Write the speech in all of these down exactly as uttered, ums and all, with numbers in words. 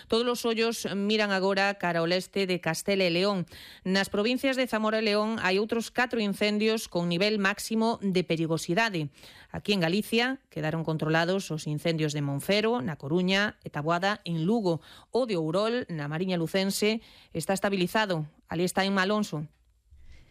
Todos os ollos miran agora cara ao leste de Castela e León. Nas provincias de Zamora e León hai outros catro incendios con nivel máximo de perigosidade. Aquí en Galicia quedaron controlados os incendios de Monfero, na Coruña e Taboada en Lugo. O de Ourol, na Mariña Lucense, está estabilizado. Ali está en Malonso.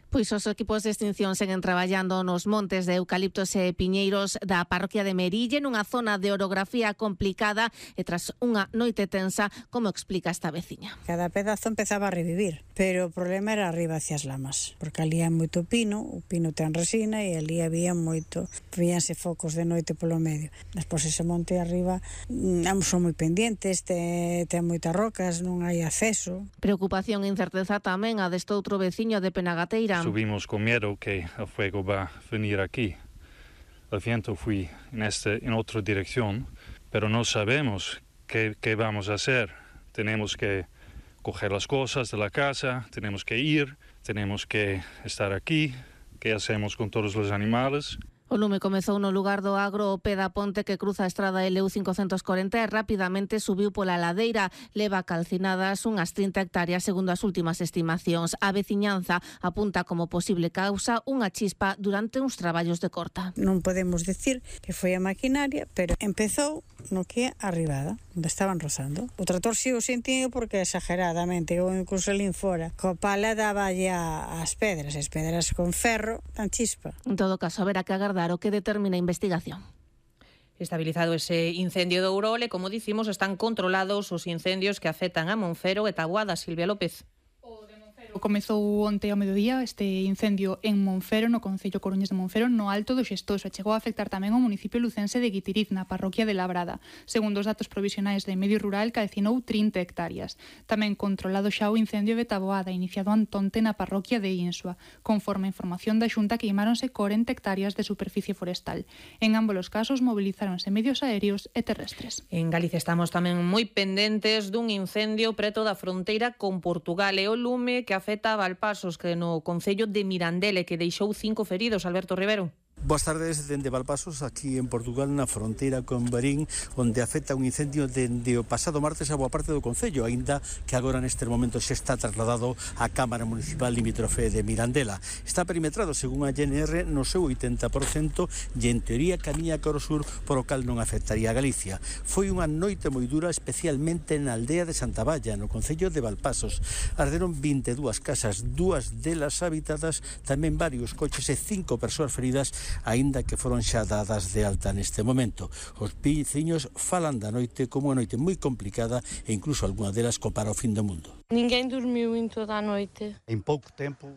Pois os equipos de extinción seguen traballando nos montes de eucaliptos e piñeiros da parroquia de Merille, nunha zona de orografía complicada e tras unha noite tensa, como explica esta veciña. Cada pedazo empezaba a revivir, pero o problema era arriba hacia as lamas, porque ali hai moito pino, o pino ten resina e ali había moito, víanse focos de noite polo medio. Despois ese monte arriba non son moi pendientes, ten, ten moitas rocas, non hai acceso. Preocupación e incerteza tamén a deste outro veciño de Penagateira. Subimos con miedo que el fuego va a venir aquí. El viento fue en, este, en otra dirección, pero no sabemos qué, qué vamos a hacer. Tenemos que coger las cosas de la casa, tenemos que ir, tenemos que estar aquí. ¿Qué hacemos con todos los animales? O lume comezou no lugar do Agro o pé da ponte que cruza a estrada L U cincocentos corenta e rapidamente subiu pola ladeira. Leva calcinadas unhas trinta hectáreas segundo as últimas estimacións. A veciñanza apunta como posible causa unha chispa durante uns traballos de corta. Non podemos decir que foi a maquinaria, pero empezou no que é arribada, onde estaban rozando. O trator si o sentiu porque exageradamente, ou incluso lín fora, coa pala daba ya as pedras, as pedras con ferro, tan chispa. En todo caso, haberá que agardar o que determina a investigación. Estabilizado ese incendio de Ourol e, como dicimos, están controlados os incendios que afectan a Monfero e Taboada. Silvia López. Comezou onte ao mediodía este incendio en Monfero, no concello coruñés de Monfero, no Alto do Xestoso, e chegou a afectar tamén ao municipio lucense de Guitiriz, na parroquia de Labrada. Segundo os datos provisionais de Medio Rural, calcinou trinta hectáreas. Tamén controlado xa o incendio de Taboada, iniciado antonte na parroquia de Insua. Conforme a información da Xunta, queimáronse corenta hectáreas de superficie forestal. En ambos os casos mobilizáronse medios aéreos e terrestres. En Galicia estamos tamén moi pendentes dun incendio preto da fronteira con Portugal e o lume que afecta a Valpasos, que no concello de Mirandele, que deixou cinco feridos. Alberto Rivero. Boas tardes, dende Valpasos, aquí en Portugal, na fronteira con Barín, onde afecta un incendio dende o pasado martes a boa parte do concello, aínda que agora neste momento xa está trasladado á Cámara Municipal limítrofe de Mirandela. Está perimetrado, según a G N R, no seu oitenta por cento e en teoría camiña cara ao sur, por o cal non afectaría a Galicia. Foi unha noite moi dura, especialmente na aldea de Santa Valla, no concello de Valpasos. Arderon vinte e dúas casas, dúas delas habitadas, tamén varios coches e cinco persoas feridas, aínda que foron xa dadas de alta neste momento. Os veciños falan da noite como unha noite moi complicada e incluso algunha delas compara o fin do mundo. Ninguén dormiu en toda a noite. Em pouco tempo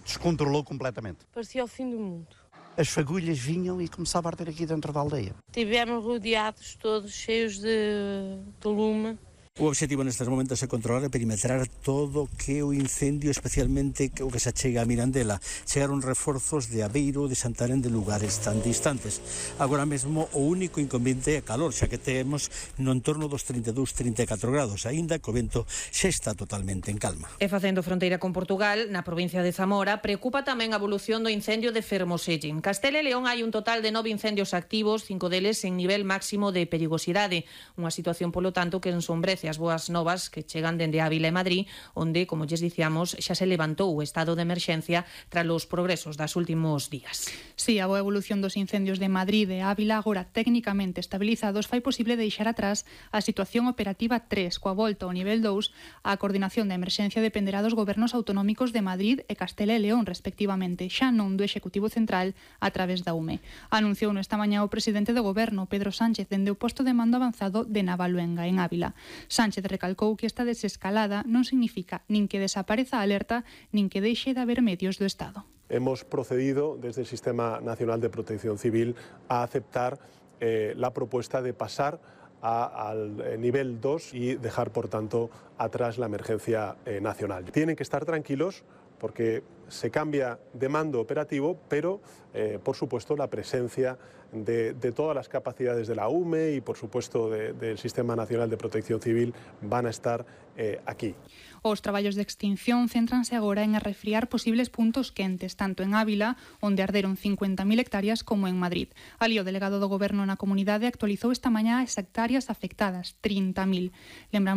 descontrolou completamente. Parecia o fim do mundo. As fagulhas vinham e começava a arder aqui dentro da aldeia. Tivemos rodeados todos cheios de, de lume. O obxectivo nestes momentos é controlar e perimetrar todo o que é o incendio, especialmente o que se achega a Mirandela. Chegaron reforzos de Aveiro, de Santarém, de lugares tan distantes. Agora mesmo o único inconveniente é calor, xa que temos no entorno dos trinta e dous, trinta e catro grados, aínda que o vento xa está totalmente en calma. E facendo fronteira con Portugal, na provincia de Zamora, preocupa tamén a evolución do incendio de Fermoselle. En Castela e León hai un total de nove incendios activos, cinco deles en nivel máximo de perigosidade. Unha situación, polo tanto, que ensombrece as boas novas que chegan dende Ávila e Madrid, onde, como lles dicíamos, xa se levantou o estado de emerxencia tras os progresos das últimos días. Sí, a boa evolución dos incendios de Madrid e Ávila, agora técnicamente estabilizados, fai posible deixar atrás a situación operativa tres, coa volta ao nivel dous. A coordinación da emerxencia dependerá dos gobernos autonómicos de Madrid e Castela e León, respectivamente, xa non do Executivo Central a través da U M E. Anunciou esta mañá o presidente do goberno, Pedro Sánchez, dende o posto de mando avanzado de Navaluenga, en Ávila. Sánchez recalcou que esta desescalada non significa nin que desapareza a alerta, nin que deixe de haber medios do Estado. Hemos procedido desde el Sistema Nacional de Protección Civil a aceptar eh, la propuesta de pasar a, al nivel dos y dejar, por tanto, atrás la emergencia eh, nacional. Tienen que estar tranquilos porque se cambia de mando operativo, pero, eh, por supuesto, la presencia de, de todas las capacidades de la U M E y, por supuesto, de, del Sistema Nacional de Protección Civil van a estar eh, aquí. Os traballos de extinción céntranse agora en arrefriar posibles puntos quentes, tanto en Ávila, onde arderon cincuenta mil hectáreas, como en Madrid. Ali, o delegado do Goberno na comunidade actualizou esta mañá as hectáreas afectadas, trinta mil. Lembramos